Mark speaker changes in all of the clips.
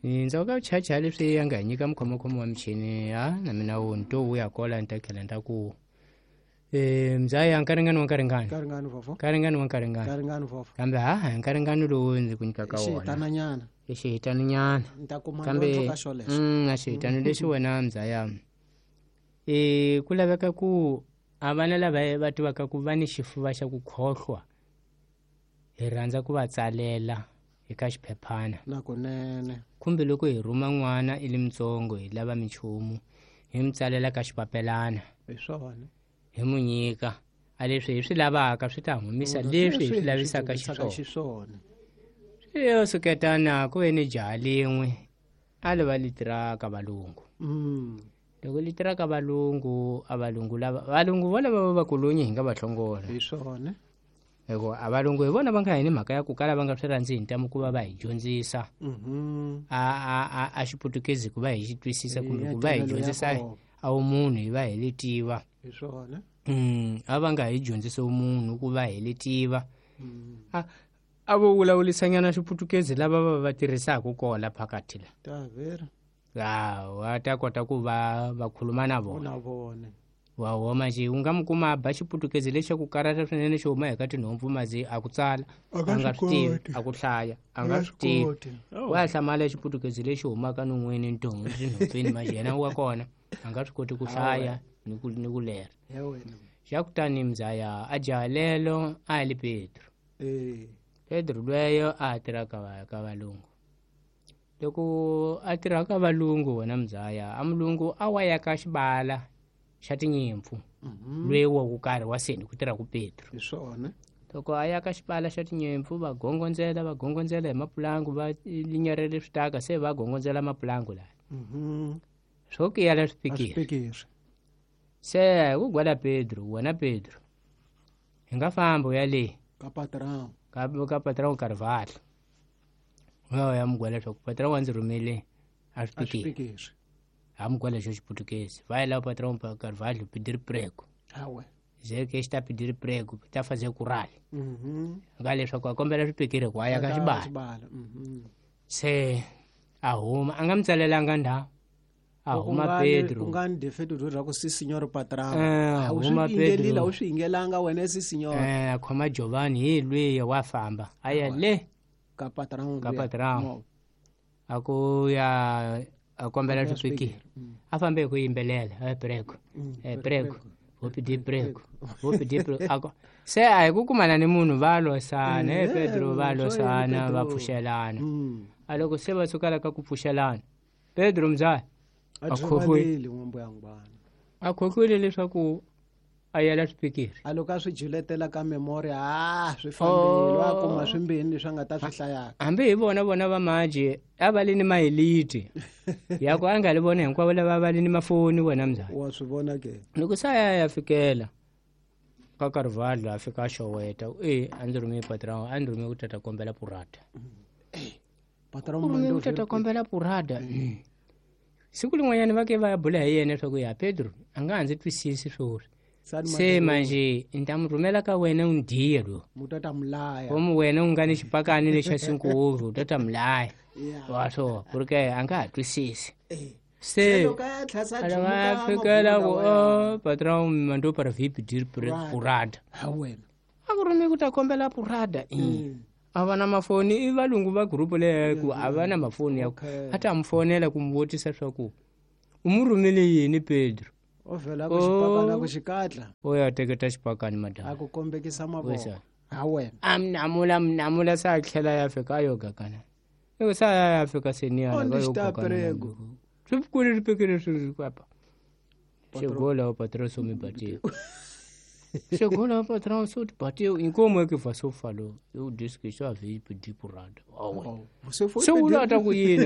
Speaker 1: Ndzhaku ka vuchachaya leswi ya nga hi nyika mukhomakhomo wa michini ha na mina wu ni to vuya kola ni ta tlhela ni ta ku mzaya nkaringani wa nkaringani
Speaker 2: nkaringani vovho
Speaker 1: nkaringani wa nkaringani
Speaker 2: nkaringani vovho
Speaker 1: kambe ha nkaringani lowu ndzi ku nyikaka wona
Speaker 2: xihitananyana
Speaker 1: i xihitananyana
Speaker 2: ni ta kuma
Speaker 1: kambe
Speaker 2: dyondzo ka xolexo
Speaker 1: a xihitano lexi wena mzaya ku laveka ku a vana lava va tivaka ku va ni xifuva xa ku khohlwa hi rhandza ku va tsalela eka xiphephana
Speaker 2: nakunene
Speaker 1: kumbe loko hi rhuma n'wana i li mutsongo hi lava minchumu hi mi tsalela ka xipapelana
Speaker 2: hi swona
Speaker 1: hi mu nyika a leswi hi swi lavaka swi ta humisa leswi hi swi lavisaka xiswona
Speaker 2: xiswona
Speaker 1: yo suketana ku ve ni jaha lin'we a li va li tiraka valungu loko li tiraka valungu a valungu lava valungu vo lava va vakulunyi hi nga va hlongola
Speaker 2: hi swona
Speaker 1: hikuva a valungu hi vona va nga hi ni mhaka ya ku kala va nga swi rhandzi hi ntamu ku va va hi dyondzisa a xiputukezi ku va hi xi twisisa kumbe ku va hi dyondzisa a wumunhu hi va hi li tiva
Speaker 2: hi swona
Speaker 1: a va nga hi dyondzisi wumunhu ku va hi li tiva a vo vulavulisanyana xiputukezi lava va va tirhisaka kola phakathi la
Speaker 2: ta vera
Speaker 1: wa ta kota ku va va khuluma na vona
Speaker 2: na vona
Speaker 1: wa homa nje u nga mi kuma a ba xiputukezi lexi ku karata swinene xi huma eka tinhompfu mazi a ku tsala a nga swi tivi a ku hlaya a nga swi tivi wa hlamala xiputukezi lexi humaka non'weni ntongo tinhompfini mazi yena wa kona a nga swi koti ku hlaya ni ku ni ku lera xa kutani mzaya a jaha lelo a li Pedro Pedro lweyo a tirha ka valungu loko a tirha ka valungu wena mzaya a mulungu a wa ya ka xibala xa tinyimpfu lweyi wa ku karhi wa seni ku tirha ku Pedro
Speaker 2: hi swona
Speaker 1: loko a ya ka xibala xa tinyimpfu va gongondzela hi mapulangu va linyarele switaka se va gongondzela mapulangu laya swo kiyala swipikiri se ku gwala Pedro wena Pedro hi nga famba u ya le
Speaker 2: ka patrão
Speaker 1: ka patrão Carvalho wa ya mugwala leswaku patrão wa ndzi rhumele a swipikiri a mugwala xo xiputukezi vai lá o patrão Carvalho pedir prego ze que está pedir prego tá fazer curral nga leswaku a kombela swipikiri ku a ya ka xibala se a huma a nga mi tsalelanga ndhawu a huma Pedro
Speaker 2: u nga ni defeto byo ra ku si signor patrão
Speaker 1: huma Pedro
Speaker 2: u swi yingelanga wena si signor
Speaker 1: a khoma Giovanni hi lwiya wa famba a ya le
Speaker 2: ka patrão
Speaker 1: ka patrão a ku ya a kombela swipikiri a fambe hi ku yimbelela e prego e prego vou pedir prego vou pedir prego se a hi ku kumana ni munhu va losana e Pedro va losana va pfuxelana a loko se va sukela ka ku pfuxelana Pedro mzaya a khohlwile leswaku a yela swipikiri
Speaker 2: a loko a swi juletela ka memory a swi fambile wa kuma swimbini leswi a nga ta swi hlayaka
Speaker 1: hambi hi vona vona va maje a va li ni mahiliti ya ku a nga li vona hinkwavo lava va li ni mafoni wena mzaya
Speaker 2: wa swi vona ke
Speaker 1: loko se a ya ya fikela ka Carvalho a fika a xoweta e a ndzi rhume patrão a ndzi rhume ku tata kombela purata ku tata kombela purata siku lin'wanyana va ke va ya bula hi yena leswaku ya Pedro a nga ha ndzi twisisi swoswi se manje ni ta mi rhumela ka wena u ndiye lo komu wena u nga ni xipakani lexa sinkuvu u ta ta mi laya wa swo ku ri ke a nga ha twisisi se a fikela ku o patrão me mandou para vir pedir purada a ku rhume ku ta kombela purada a va na mafoni i valungu va gurupu leyo ku a va na mafoni ya ku a ta mi fonela ku mi vutisa swa ku u mu rhumele yini Pedro
Speaker 2: o vhela ku xipakana ku xikatla
Speaker 1: o ya teketa xipakani madam
Speaker 2: a ku kombekisa mavoko ha wena
Speaker 1: a mi namula mi namula se a tlhela ya fika a yo gakana loko se a ya fika seniyana ka yo gakana swi kule swipikiri swi kwapa chegou lá o patrão só me bateu chegou lá o patrão só te bateu em como é que você falou eu disse que só havia pedir porrada
Speaker 2: se
Speaker 1: se u ta ku yini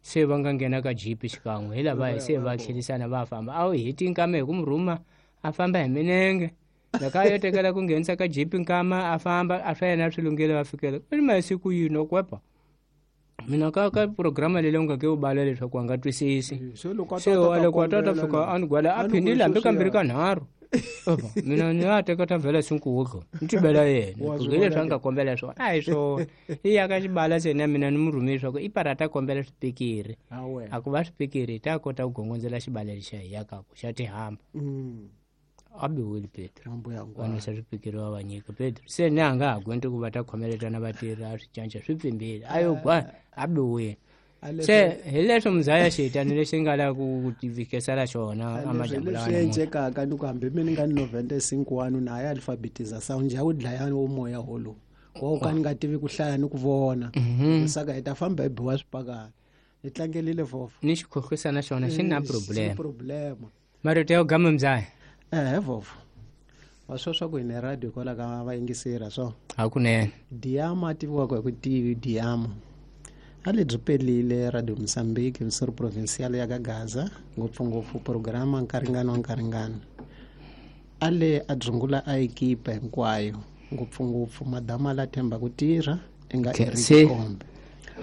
Speaker 1: se va nga nghena ka jipi xikan'we hi lava se va tlhelisana va famba a wu heti nkama hi ku mi rhuma a famba hi minenge loko a yo tekela ku nghenisa ka jipi nkama a famba a swa yena swi lunghile va fikela i masiku yini o kwepa mina ka ka programa leyi u nga ke u bala leswaku a nga twisisi
Speaker 2: se loko
Speaker 1: se wa loko a ta ta fika a ni gwala a phindile hambi kambirhi ka nharhu Opa, mina ni ya teka ta vhela sinkudlo ni tibela yena
Speaker 2: Wa swi
Speaker 1: ku hi leswi
Speaker 2: vona
Speaker 1: a nga kombela swona a hi swona i ya ka xibala se na mina ni mu rhumile swa ku i para ta kombela swipikiri
Speaker 2: Ha wena.
Speaker 1: A ku va swipikiri hi ta kota ku gongondzela xibala lexa hi yakaku xa tihamba a biwile Pedro
Speaker 2: Mambo ya
Speaker 1: va
Speaker 2: ngwana.
Speaker 1: nwisa swipikiri va va nyika Pedro se ni a nga ha gwenti ku va ta khomeletana vatirhi a swi cinca swi pfimbile a yo gwa a biwile
Speaker 2: A leswi-
Speaker 1: se hi leswo muzaya xitani lexi nga la ku tivikisela xona
Speaker 2: leswi
Speaker 1: amajambu lawa
Speaker 2: leswi
Speaker 1: namuntlha.
Speaker 2: endlekaka ni ku hambi mi ni nga ni 95 wanu na ya alfabetização njhe wu dlaya wo moya wolowu wa ka ni nga tivi ku hlaya ni ku vona saka hi ta famba hi biwa swipakana hi tlangelile vhofo
Speaker 1: Ni xikhohlisa na xona xi na problem
Speaker 2: problema
Speaker 1: marito ya ku gama muzaya
Speaker 2: ehe vhofo wa swo swa ku hi ne radio hikwalaho ka vayingiseri swo
Speaker 1: hakunene
Speaker 2: Diama a tiviwaka hi ku tivi Diama a lebyi pelile Radio Mozambique misori provincial ya ka Gaza ngopfungopfu programa nkaringano wa nkaringano a le a dzungula a ekipa hinkwayo ngopfungopfu madama la themba ku tirha i nga
Speaker 1: Okay,
Speaker 2: Eric
Speaker 1: se-
Speaker 2: Kombe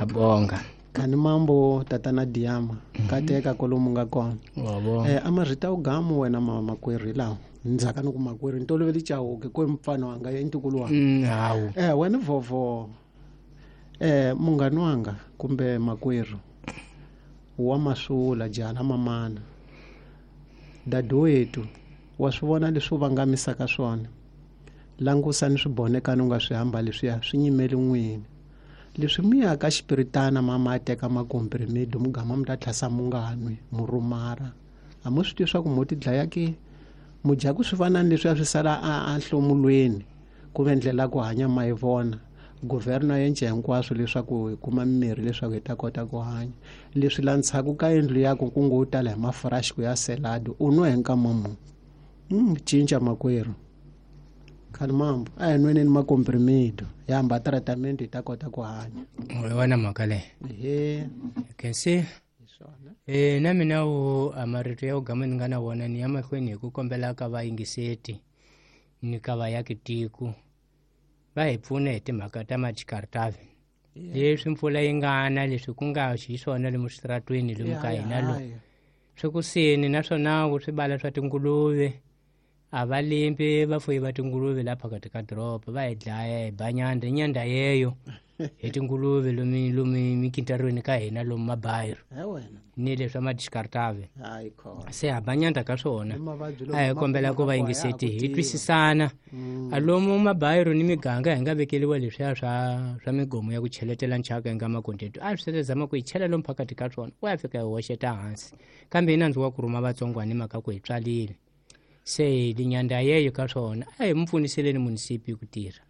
Speaker 1: a bonga
Speaker 2: khani mambo tatana Diama kateka kolomu nga kona
Speaker 1: wa bonga
Speaker 2: a marito ugamu wena ma makwerhu hi lawa ndzhaka ni ku makwerhu ni tolovele Chauke ko mfana wanga i ntukulu wanga
Speaker 1: Hawu
Speaker 2: wena vhovo munghani wanga kumbe makwerhu wa masula jala mamana dadewethu wa swi vona leswi u vangamisaka swona langusa ni swibonekani u nga swi hamba leswiya swi nyimeli n'wini leswi mi ya ka xipiritana mama a teka makomprimido mugama mi ta tlhasa mu nga nwi mu rumara a mu swi tivi swa ku mo ti dlaya ke mu dya ku swi fana ni leswiya swi sala a nhlomulweni ku ve ndlela ya ku hanya ma yi vona guvherna yence hinkwaswo leswaku hi kuma mimirhi leswaku hi ta kota ku hanya leswi la ndzhaku ka yindlu yaku ku ngo tala hi mafuraxi ku ya seladi u nwa hi nkama muni cinca makwerhu khani mambo a hi nweneni makomprimido hi hamba tratament hi ta kota ku hanya
Speaker 1: hi wona mhaka leyi
Speaker 2: ehe
Speaker 1: kensi
Speaker 2: hi swona
Speaker 1: na mina wu a marito ya ku gama ni nga na wona ni ya mahlweni hi ku kombela ka vayingiseti ni ka vayaki tiko va hi pfuna hi timhaka ta majikaritavi leswi mpfula yi nga na leswi ku nga xiswona lomu switaratweni lomu ka hina lo swi kusini naswona ku swibala swa tinguluve a va limpi vafuyi va tinguluve la phakathi ka doroba va hi dlaya hi ba nyanda nyanda yeyo hi tinguluve lomu lomu mikintarweni ka hina lomu mabayiro
Speaker 2: he wena
Speaker 1: ni leswa madiskartave
Speaker 2: hayi khona
Speaker 1: se ha ba nyanda ka swona
Speaker 2: Ni mavabyi lomu
Speaker 1: a hi
Speaker 2: ma
Speaker 1: kombela ku
Speaker 2: kumaka
Speaker 1: va
Speaker 2: ku
Speaker 1: yingiseti
Speaker 2: a ya ha
Speaker 1: hi
Speaker 2: ku tiva.
Speaker 1: twisisana a lomu mabayiro ni miganga hi nga vekeliwa leswiya swa migomo ya ku cheletela nchaka hi nga makondetu a swi zama ku hi chela lomu phakathi ka swona ku ya fika hi hoxeta hansi kambe hi nandzu wa ku rhuma vatsongwana hi mhaka ku hi tswalile se linyanda yeyo ka swona a hi mu pfuniseleni munisipi ku tirha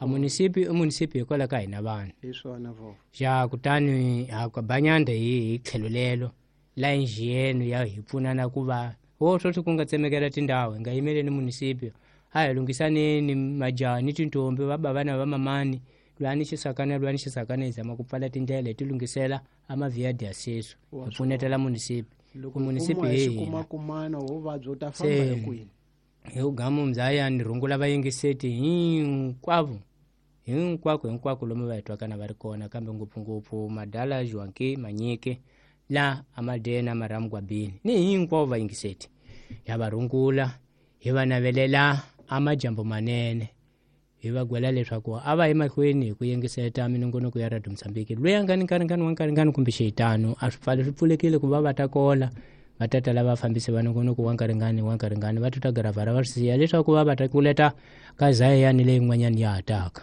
Speaker 1: a munisipi i munisipi hikwalaho ka hina vanhu
Speaker 2: hi swona vhofo
Speaker 1: ja kutani ha ba nyanda hi tlhelo lelo la injiyeno ya hi pfunana ku va wo sweswi ku nga tsemekela tindhawu hi nga yimeleni munisipi a hi lunghisaneni majaha ni tintombi va bava na va mamani lwani xisakana lwani xisakana hi zama ku pfala tindlela hi ti lunghisela a mavhiya sesu hi pfunetela munisipi
Speaker 2: loko
Speaker 1: ku munisipi
Speaker 2: kuma
Speaker 1: hi
Speaker 2: hi
Speaker 1: hina
Speaker 2: xikumakumana vuvabyi u ta famba
Speaker 1: Se-
Speaker 2: hi kwini
Speaker 1: hi ku gamu mzaya ni rungula vayingiseti hinkwavo hinkwako hinkwako lomu va hi twaka na va ri kona kambe ngopfungopfu madala Joaquim Manyike la amadena maramugwabini ni hinkwavo vayingiseti ya va rungula hi va navelela amajambo manene hi va gwela leswaku a va yi mahlweni hi ku yingiseta minongonoko ya Radio Mozambique loyi a nga ni nkaringani wa nkaringani kumbe xihitano a swi pfali swi pfulekile ku va va ta kola va ta tala vafambisi va nongonoko wa nkaringani wa nkaringani va tuta giravhara va swi siya leswaku va va ta kuleta ka zayani leyin'wanyani ya ha taka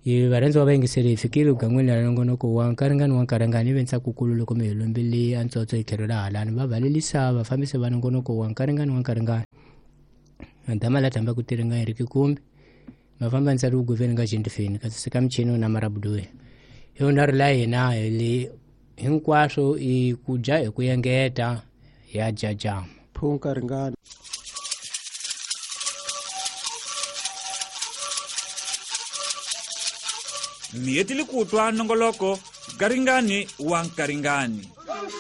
Speaker 1: hi varhandzi va vayingiseri hi fikile gan'wini ra nongonoko wa nkaringani wa nkaringani ivi ntsakukulu loko mi hi lombile a ntsotso hi tlhelo ra halani va valelisa vafambisi va nongonoko wa nkaringani wa nkaringani dama la tamba ku tiringa hi ri kikumbi mafamba ntsari uguveni nga jentifeni kasi sika michini na marabuduwe hi wona ri la hina hi le hinkwaswo i ku dya hi ku engeta ya jajama
Speaker 2: phunka ringana
Speaker 3: Mi hetile ku twa nongoloko Garingani wa Nkaringani.